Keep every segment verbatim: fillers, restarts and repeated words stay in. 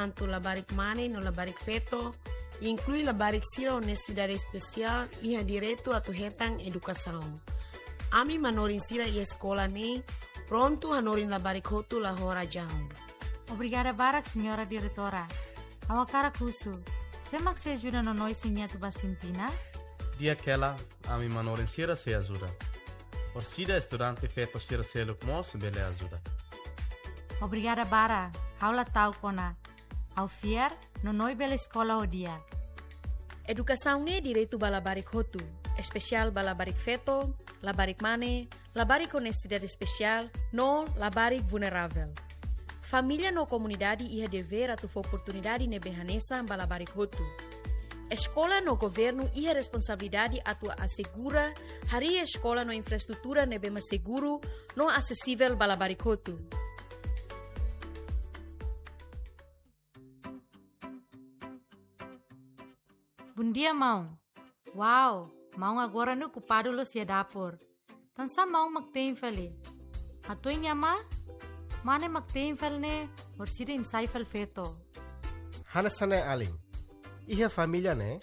Tantu labarik mane no labarik feto, inklui labarik sira ho nesesidade espesiál, iha direitu atu hetan edukasaun. Ami manorin sira iha eskola ne'e, prontu hanorin labarik hotu la ho razaun. Obrigada barak, Señora Diretora. Ha'u hakarak husu, sé mak sei ajuda nonoin sira-nia atu bá sintina? Di'ak hela, ami manorin sira sei ajuda. Orsida estudante feto sira seluk mós bele ajuda. Obrigada barak, ha'u la ta'uk ona. Ha'u fiar, nonoin bele eskola ho di'ak. Edukasaun ne'e direitu ba labarik hotu, espesiál ba labarik feto, labarik mane, labarik ho nesesidade espesiál, no labarik vulneravel. Família no komunidade iha devér atu fó oportunidade ne'ebé hanesan ba labarik hotu. Eskola no governu iha responsabilidade atu asegura harii eskola no infraestrutura ne'ebé mak seguru no asesivel ba labarik hotu. Bondia, maun. Wow, maun agora ne'e okupadu loos iha dapur. Tansá maun mak te'in fali? Hatudu nia amá, mane mak te'in fali ne'e, orsida nia sai fali feto. Hanesan ne'e alin. Iha família ne'e,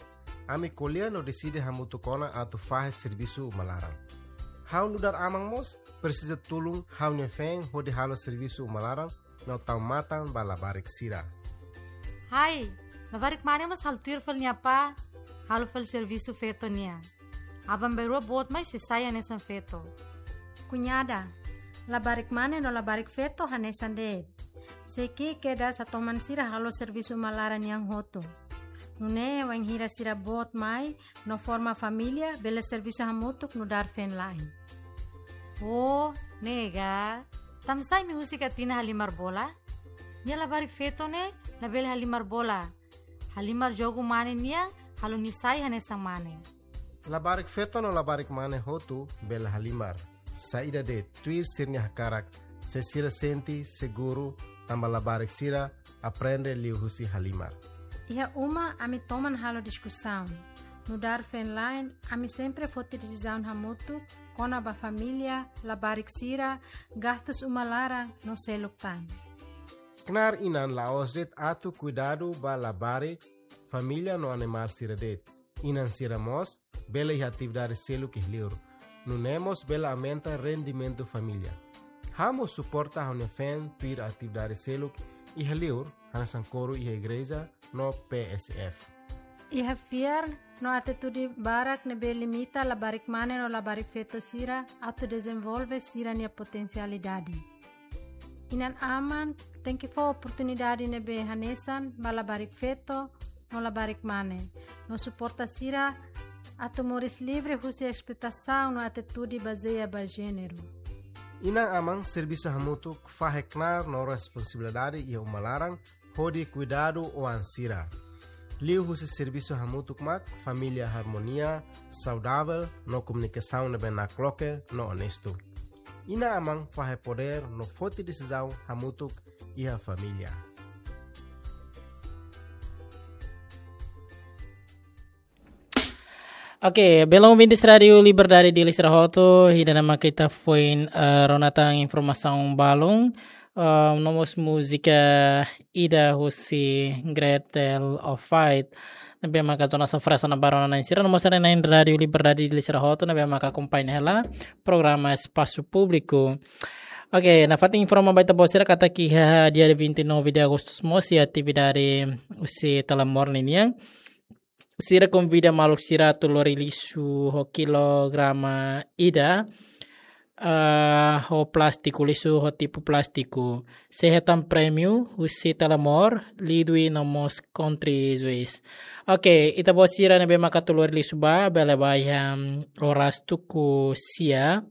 ami ko'alia no deside hamutuk ona atu fahe servisu uma laran. Ha'u nu'udar aman mós, presiza tulun ha'u-nia feen hodi halo servisu uma laran, no tau matan ba labarik sira. Hai, labarik mane mós halo tuir fali nia apá, halo fali servisu feto nian. Aban-bainrua boot mai sei sai hanesan feto. Kuñada, labarik mane no labarik feto hanesan de'it. Sei ki'ik kedas hatoman sira halo servisu uma laran nian hotu. Nune'e wainhira sira boot mai, no forma família, bele servisu hamutuk nu'udar feen-la'en. Oh, ne'e ka. Tansá imi husik Atina halimar bola? Nia labarik feto ne'e, labele halimar bola. Halimar jogu mane nian, halo nia sai hanesan mane. Labarik feto no labarik mane hotu bele halimar. Saida de'it tuir sira-nia hakarak, se sira sente seguru, tanba labarik sira aprende liuhusi halimar. Iha uma ami toman halo diskusaun. Nu'udar feen-la'en, ami sempre foti desizaun hamutuk, kona-ba família, labarik sira, gastus uma laran, no seluk tan. Knaar inan la'ós de'it atu kuidadu ba labarik, família no animál sira de'it. Inan sira mós bele iha atividade seluk iha li'ur. Nune'e mós bele aumenta rendimentu família. Ha'u mós suporta ha'u-nia feen tuir atividade seluk iha li'ur, hanesan koru iha igreja no P S F. Iha fiar no atitude barak ne'ebé limita labarik mane no labarik feto sira atu dezenvolve sira-nia potensialidade. Inan-aman tenke fó oportunidade ne'ebé hanesan ba labarik feto no labarik mane, no suporta sira atu moris livre husi esploitasaun no atitude bazeia ba jéneru. Inan-aman servisu hamutuk fahe knaar no responsabilidade iha uma laran hodi kuidadu oan sira. Liuhusi servisu hamutuk mak família harmonia, saudavel no komunikasaun ne'ebé nakloke no onestu. Inan-aman fahe podér no foti desizaun hamutuk iha família. Oke, belun ouvintes Rádiu Liberdade Dili sira hotu, ida-ne'e mak ita foin, eh, rona tan informasaun balun, eh, no mós múzika ida husi Gretel of Fight. Ne'ebé maka zona sofresa na barona na insira, no mós na Rádiu Liberdade Dili sira hotu, ne'ebé maka akompaña hela programa Espasu Públiku. Oke, nafatin informa ba ita-boot sira katak iha dia vinte e nove de agosto mós iha atividade husi Telemor ninian. Sira konvida maluk sira atu lori lixu ho kilograma ida, ah, ho plástiku, lixu ho tipu plástiku. Sei hetan prémiu husi Telemor, Lidwi no mós Country Juice. Oke, ita-boot sira ne'ebé maka atu lori lixu ba, bele ba iha, mm, oras tuku sia.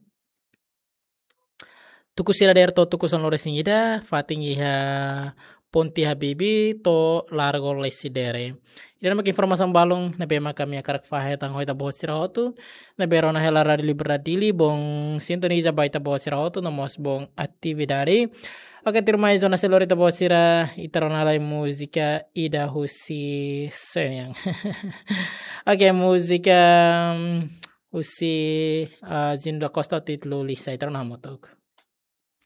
Tuku sia dadeer to'o tuku sanulu-resin-ida, fatin iha Ponte Habibie to'o Largo Lecidere. Ida-ne'e mak informasaun balun ne'ebé maka ami hakarak fahe tan ho ita-boot sira hotu, ne'ebé rona hela Rádiu Liberdade Dili, bom sintoniza ba ita-boot sira hotu, no mós bom atividade. Oke, tuirmai zona selori ita-boot sira, ita rona lai múzika ida husi Senyang. Oke, múzika, mm, husi, ah, Zindo Costa títulu Lisa, ita rona hamutuk.